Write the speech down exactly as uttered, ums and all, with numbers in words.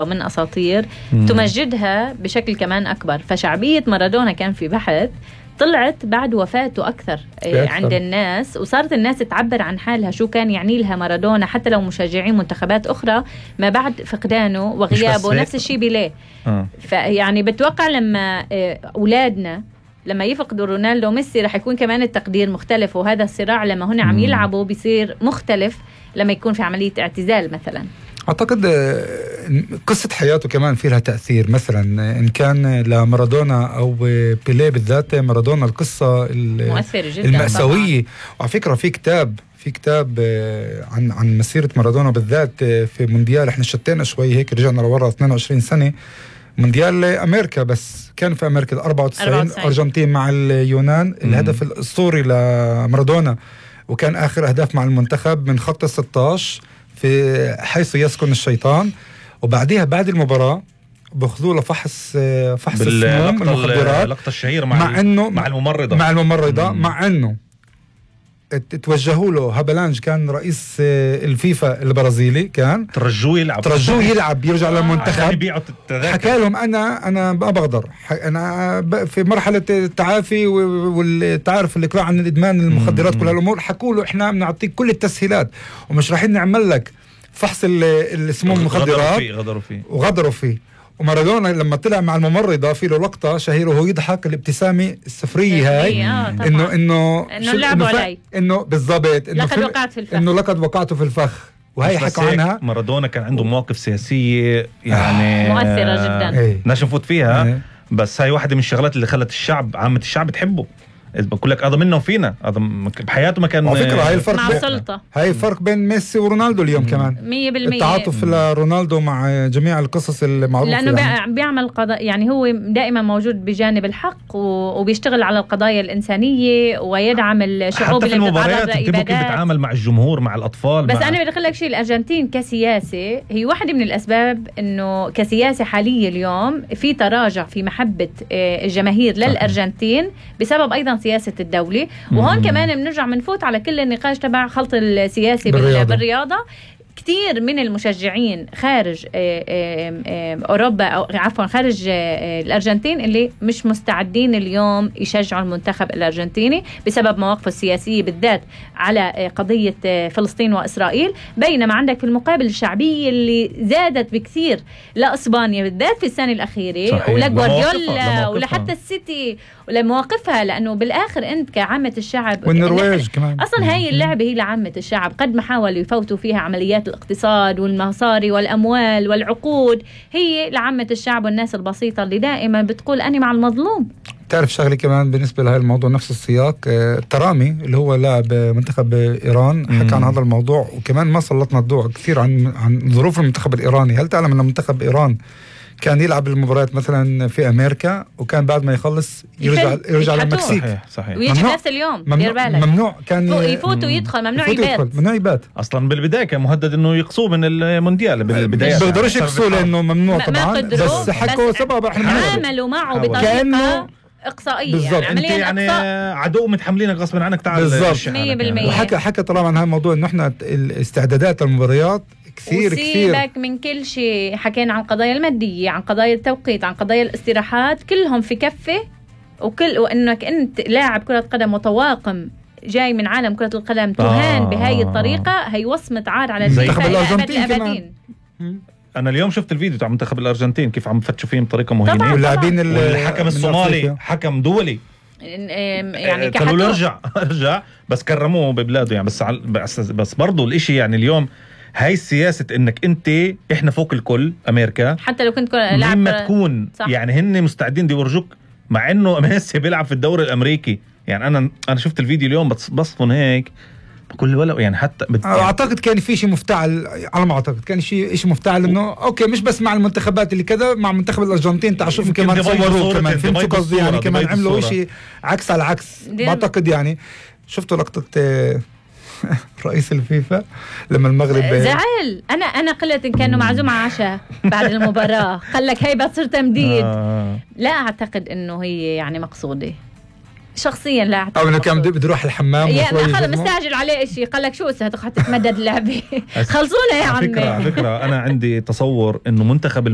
ومن أساطير مم. تمجدها بشكل كمان أكبر. فشعبية مارادونا كان في بحث طلعت بعد وفاته أكثر عند الناس، وصارت الناس تعبر عن حالها شو كان يعني لها مارادونا، حتى لو مشجعين منتخبات أخرى ما بعد فقدانه وغيابه. نفس الشيء بيليه. آه. فيعني بتوقع لما أولادنا لما يفقدوا رونالدو وميسي رح يكون كمان التقدير مختلف، وهذا الصراع لما هنا عم يلعبوا بيصير مختلف لما يكون في عملية اعتزال مثلا. أعتقد قصة حياته كمان في لها تأثير، مثلا إن كان لمارادونا أو بيليه بالذات. مارادونا القصة مؤثرة جدا المأساوية، وعلى فكرة في كتاب في كتاب عن عن مسيرة مارادونا بالذات في مونديال. احنا شتينا شوي هيك، رجعنا لورا اثنين وعشرين سنة، مونديال أمريكا، بس كان في أمريكا أربعة وتسعين أرجنتين مع اليونان. الهدف الأسطوري لمارادونا، وكان آخر أهداف مع المنتخب من خط الستة عشر في حيث يسكن الشيطان. وبعدها بعد المباراة بأخذوه لفحص فحص السموم المخدرات، اللقطة الشهيرة مع, مع إنه مع الممرضة مع الممرضة مم. مع إنه توجهوا له هابلانج، كان رئيس الفيفا البرازيلي، كان ترجوه يلعب ترجوه يلعب يرجع للمنتخب. حكى لهم أنا أنا ما بقدر، أنا في مرحلة التعافي والتعرف الإقلاع عن الإدمان المخدرات، كل هالأمور. حكوا له إحنا بنعطيك كل التسهيلات ومش رايحين نعمل لك فحص السموم المخدرات. غدروا فيه غدروا فيه وغدروا فيه ومارادونا لما طلع مع الممرضة في له لقطة شهيرة وهو يضحك، الابتسامة السفرية هاي، آه إنه إنه إنه لعبوا علي، إنه بالضبط إنه لقد وقعت في الفخ، إنه لقد وقعته في الفخ. وهي حكوا عنها. مارادونا كان عنده مواقف سياسية يعني آه مؤثرة جدا، ايه. ناش نفوت فيها ايه. بس هاي واحدة من الشغلات اللي خلت الشعب عامة الشعب تحبه. بقول لك هذا منه وفينا، هذا بحياته ما كان. على فكرة هاي الفرق مع السلطة، هاي الفرق بين ميسي ورونالدو اليوم مم. كمان مية بالمية التعاطف لرونالدو مع جميع القصص المعروفة، لأنه يعني. بيعمل قضاء، يعني هو دائما موجود بجانب الحق وبيشتغل على القضايا الإنسانية ويدعم الشعوب اللي بتتعرض لإبادات. كيف بيتعامل مع الجمهور مع الأطفال. بس مع... أنا بدي أقول لك شيء، الأرجنتين كسياسة هي واحدة من الأسباب إنه كسياسة حالية اليوم في تراجع في محبة الجماهير للأرجنتين بسبب أيضا سياسة الدولة. وهون مم. كمان بنرجع منفوت على كل النقاش تبع خلط السياسي بالرياضة. بالرياضة كتير من المشجعين خارج أوروبا أو عفوا خارج الأرجنتين اللي مش مستعدين اليوم يشجعوا المنتخب الأرجنتيني بسبب مواقفه السياسية بالذات على قضية فلسطين وإسرائيل، بينما عندك في المقابل الشعبية اللي زادت بكثير لإسبانيا بالذات في السنة الأخيرة، ولجوارديولا ولحتى السيتي ولمواقفها، لأنه بالآخر أنت كعامة الشعب والنرويج كمان أصلا هاي اللعبة هي لعامة الشعب، قد ما حاولوا يفوتوا فيها عمليات الاقتصاد والمصاري والأموال والعقود، هي لعامة الشعب والناس البسيطة اللي دائما بتقول أنا مع المظلوم. تعرف شغلة كمان بالنسبة لهذا الموضوع نفس السياق، ترامي اللي هو لاعب منتخب إيران حكى عن هذا الموضوع، وكمان ما سلطنا الضوء كثير عن عن ظروف المنتخب الإيراني. هل تعلم أن منتخب إيران كان يلعب المباريات مثلا في أمريكا وكان بعد ما يخلص يرجع يرجع للمكسيك؟ صحيح صحيح. ويجي نفس اليوم. ممنوع, ممنوع كان يفوت ويدخل، ممنوع يبات. ممنوع يبات اصلا بالبدايه كان مهدد انه يقصوه من المونديال بالبدايه، بيقدروش يقصوا لانه ممنوع طبعا، بس حكوا سبب احنا عملوا معه بطريقه اقصائيه، بالضبط. يعني انت يعني عدو متحملينك غصبا عنك، تعال بالضبط مية بالمية. وحكى حكى طبعا عن هذا الموضوع انه احنا الاستعدادات للمباريات كثير كثير. وسيبك من كل شيء، حكينا عن قضايا المادية، عن قضايا التوقيت، عن قضايا الاستراحات، كلهم في كفة. وكل وانك انت لاعب كرة قدم متواقم جاي من عالم كرة القدم تهان آه. بهاي الطريقة، هي وصمة عار على المنتخب الأرجنتين. أنا اليوم شفت الفيديو تاع منتخب الأرجنتين كيف عم فتشوا فيهم بطريقة مهينة، واللاعبين الحكم الصومالي حكم دولي يعني قالوا له ارجع ارجع بس كرموه ببلاده يعني. بس بس, بس برضو الاشي يعني اليوم هاي السياسة انك انت احنا فوق الكل امريكا، حتى لو كنت لاعب ما تكون صح. يعني هن مستعدين دي يورجوك، مع انه ميسي بيلعب في الدوري الامريكي. يعني انا انا شفت الفيديو اليوم بس بصفن هيك بكل ولا يعني حتى بت... اعتقد كان في شيء مفتعل، على ما اعتقد كان شيء شيء مفتعل انه اوكي مش بس مع المنتخبات اللي كذا، مع منتخب الارجنتين تعال شوف كمان صوروا كمان فهمتوا قصدي، يعني كمان عملوا شيء عكس على عكس. بعتقد يعني شفتوا لقطة رئيس الفيفا لما المغرب زعل، انا انا قلت ان كانوا معزوم على عشاء بعد المباراة قال لك هي بتصير تمديد. آه. لا اعتقد انه هي يعني مقصودة، شخصيا لا أعتقد. او انه كان بده يروح الحمام يعني وشوي خلص يجزمه. مستعجل عليه شيء، قال لك شو هتروح تتمدد اللعبه خلصونا يا على عمي. فكرة على فكرة أنا عندي تصور إنه منتخب